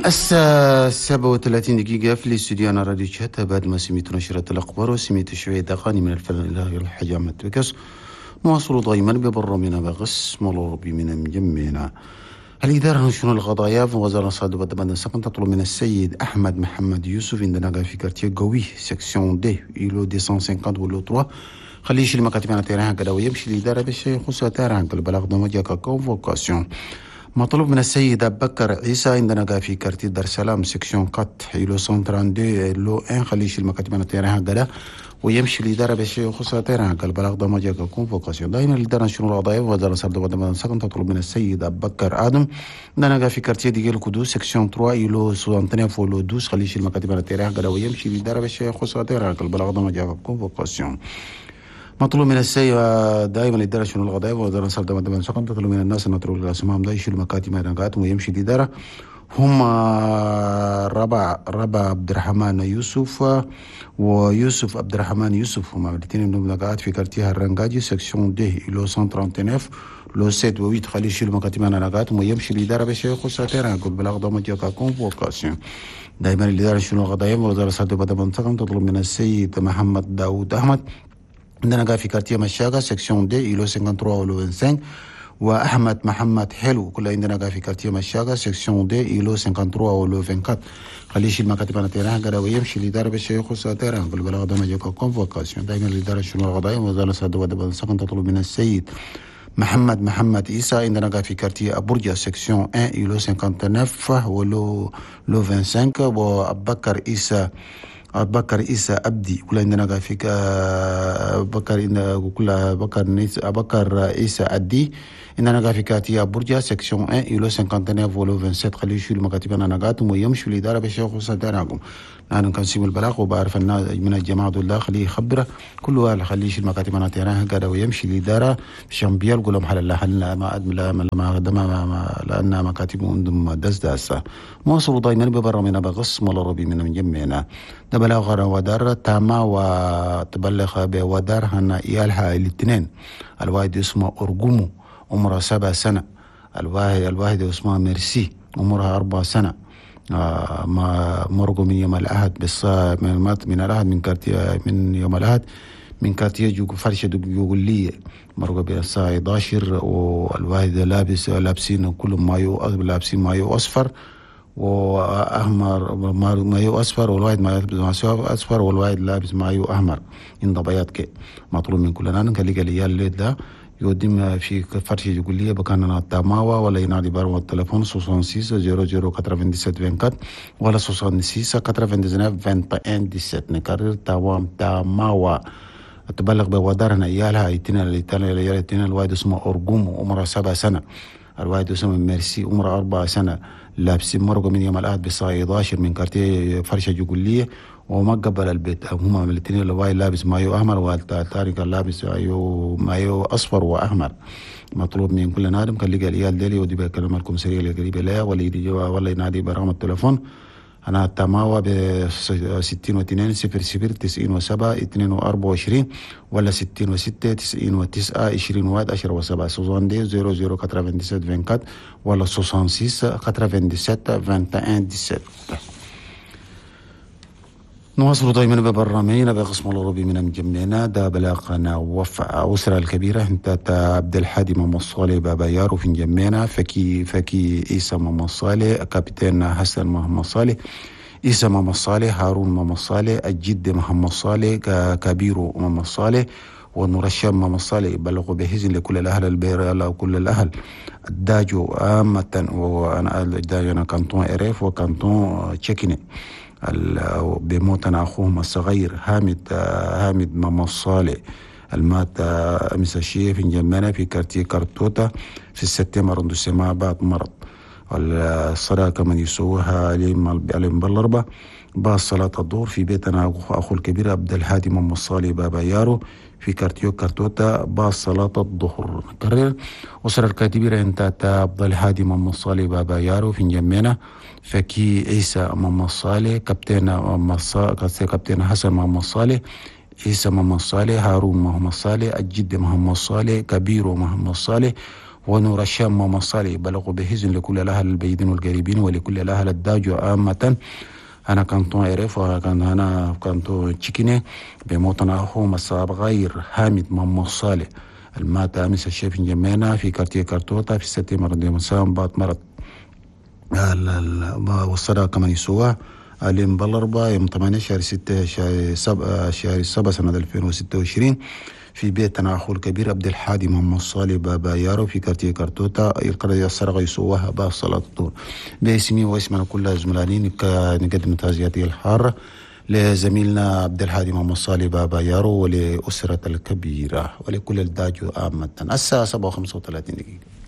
الساعة 37 دقيقة في الاستوديو أنا راديو شهادة. بعد ما سميت نشرة الأخبار وسميت شوية أغاني من الفن الإلهي الحاج أحمد بكس، نواصل دائما ببرنامجنا بقسم الربي من مجمعنا. الإدارة شؤون القضايا في وزارة الصعد والدمن السكن تطلب من السيد أحمد محمد يوسف عندنا في quartier قوي section deux îlot 250 و lot 3 خليه يشيل مكاتبنا terrain كده ويمشي الإدارة باش يخص terrain البلاغ ده مجاك convocation. مطلوب من السيد بكر عيسى عندنا في quartier دار السلام section 4 îlot 132 lot 1 خليه يشيل مكاتبنا terrain كده ويمشي الإدارة باش يخص terrain البلاغ ده مجاك convocation. دائما الإدارة شؤون القضايا وزارة الصعد والدمن السكن تطلب من السيد بكر آدم عندنا في quartier ديال القدوس section 3 îlot 69 lot 12 خليه يشيل مكاتبنا terrain كده ويمشي الإدارة باش يخص terrain البلاغ ده مجاك convocation. مطلوب من السيد دائما الإدارة شؤون القضايا وزارة الصعد والدمن السكن تطلب من الناس أن يتركوا الأسماء ده يشيلوا مكاتب مدنقاتهم ويمشي الإدارة. هم ربع عبد الرحمن يوسف ويوسف عبد الرحمن يوسف، هما الاثنين منهم قاعد في quartier الرنجاجي section deux îlot 139 lot 7 و 8 خليه يشيلوا مكاتب مدنقاتهم ويمشي الإدارة باش يخص terrain بالبلاغ ده مجاك convocation. دائما الإدارة شؤون القضايا وزارة الصعد والدمن السكن تطلب من السيد محمد داود أحمد عندنا قاعد في quartier مشاقة section deux îlot 53 و lot 25 واحمد محمد حلو كل عندنا قاعد في quartier مشاقة section deux îlot 53 و lot 24 خليه يشيل مكاتب انا terrain قال ويمشي الإدارة باش يخص terrain بالبلاغ ده مجاك convocation. دائما الإدارة شؤون القضايا وزارة الصعد والدمن السكن تطلب من السيد محمد عيسى عندنا قاعد في quartier أبورجا section 1 îlot 59 و lot 25 وأبكر عيسى أبدي كل عندنا قاعد في أبكر عيسى أدي عندنا قاعد في quartier برجا section 1 îlot 59 و lot 27 خليه يشيلوا مكاتبنا نقاتهم ويمشوا الإدارة باش يخص terrain. نحن كنسيب البلاغ وبعرف الناس من الجماعة دول خليه يخبره كل واحد خليه يشيل مكاتبنا terrain قاعد ويمشي الإدارة عشان بيلقوا لهم حل لا ما ما ما لأن مكاتبهم عندهم دس مواصلوا دائما ببرنامجنا بقسم الربي من مجمعنا. ده بلاغ ودار تاما وتبلغ بودار هنا إيالها الاثنين الواحد اسمه أرجومو عمره 7 سنة، الواحد اسمه ميرسي عمرها 4 سنة، ما مرقوا من يوم الأحد بس من الأحد من quartier من يوم الأحد من quartier جو فرشة جوجولية مرقوا بالساعة 11 والواحد لابسين كلهم مايو لابسين مايو أصفر واحمر مايو اصفر والواحد لابس مايو اصفر والواحد لابس مايو احمر عند بياض كي. مطلوب من كلنا نخلي العيال ده يودم في فرش يقولي بكان تاماوا ولا ينادي بار التليفون 66 00 97 24 ولا 66 99 21 17. نكرر تاماوا تبلغ بودارنا عيالها ايتنا الاثنين الواحد اسمه أرجومو عمره 7 سنة، الواحد اسمه ميرسي عمره 4 سنة، لابسين مرقوا من يوم الأحد بالساعة 11 من quartier فرشة جوجولية وما قبل البيت. هما من الاثنين الواحد لابس مايو أحمر والثاني كان لابس مايو أصفر وأحمر. مطلوب من كل نادم كان لقى العيال ديلي ودي بكلم الكمسارية اللي قريبة لها ولا يجي ولا ينادي برقم التليفون أنا التماوى ب 62 00 97 224 ولا 66 99 21 10 7 62 00 97 24 ولا 66 97 21 17. نواصل دائما ببرنامجنا بقسم الأوروبي من مجمعنا. ده بلاغنا وفاء أسرة الكبيرة انت عبد الحادي محمد صالح بابا يارو في مجمعنا، فكي عيسى محمد صالح، كابتن حسن محمد صالح، عيسى محمد صالح، هارون محمد صالح، الجد محمد صالح، كبيرو محمد صالح، ونور الشام محمد صالح. بلغوا بحزن لكل الأهل البير وكل الأهل الداجو عامة، وأنا الداجو أنا canton إريف و canton تشيكيني. بموتنا أخوهم الصغير هامد محمد صالح المات أمس الشيء في جمانة في quartier كارتوتا في ال septième arrondissement بعد مرض. الصلاة كمان يسووها عليهم بالأربعة بعد صلاة الظهر في بيتنا أخو الكبير عبد الهادي محمد صالح بابا يارو في quartier كارتوتا بعد صلاة الظهر. نكرر أسرة الكبيرة انت عبد الهادي محمد صالح بابا يارو في جمينة، فكي عيسى محمد صالح، كابتن حسن محمد صالح، عيسى محمد صالح، هارون محمد صالح، الجد محمد صالح، كبير محمد صالح، ونور الشام محمد صالح. بلغوا بحزن لكل الأهل البعيدين والقريبين ولكل الأهل الداجو عامة. أنا كنتون عرف وكان أنا كنتون تشيكيني بموتنا أخو مصاب غير حامد محمد صالح المات أمس الشيف جمينا في كارتيه كارتوتا في 6 مرض مسام بعد مرض والصدى كمان يسوى اليوم بالأربعة يوم 8 شهر 6 شهر 7 شهر 7 سنة 2026 في بيتنا أخو الكبير عبد الحادي محمد صالح بابا يارو في كارتيه كارتوتا القرية السرقة يسواها باب صلاة الظهر. باسمي واسم كل زملائي نقدم تعزياتي الحارة لزميلنا عبد الحادي محمد صالح بابا يارو ولأسرة الكبيرة ولكل الداجو عامة. الساعة 7:35.